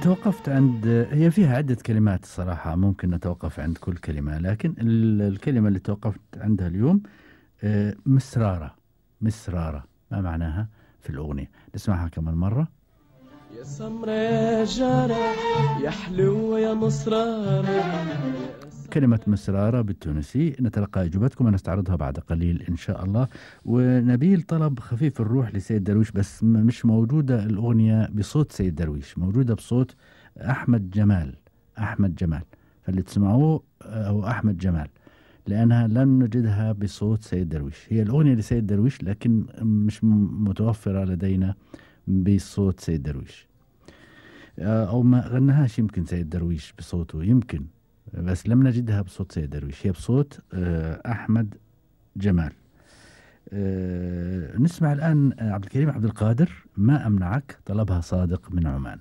توقفت عند هي فيها عدة كلمات الصراحة، ممكن نتوقف عند كل كلمة، لكن الكلمة اللي توقفت عندها اليوم مسرارة. مسرارة ما معناها في الأغنية؟ نسمعها كمان مرة. يا سمرة يا جارة يا حلوة يا مصرارة. كلمة مسرارة بالتونسي. نتلقى إجابتكم ونستعرضها بعد قليل إن شاء الله. ونبيل طلب خفيف الروح لسيد درويش، بس مش موجودة الأغنية بصوت سيد درويش، موجودة بصوت أحمد جمال. أحمد جمال، فاللي تسمعوه هو أحمد جمال، لأنها لن نجدها بصوت سيد درويش. هي الأغنية لسيد درويش لكن مش متوفرة لدينا بصوت سيد درويش، أو ما غناهاش يمكن سيد درويش بصوته يمكن، بس لم نجدها بصوت سيد درويش، هي بصوت أحمد جمال. نسمع الآن عبد الكريم عبد القادر ما أمنعك، طلبها صادق من عمان.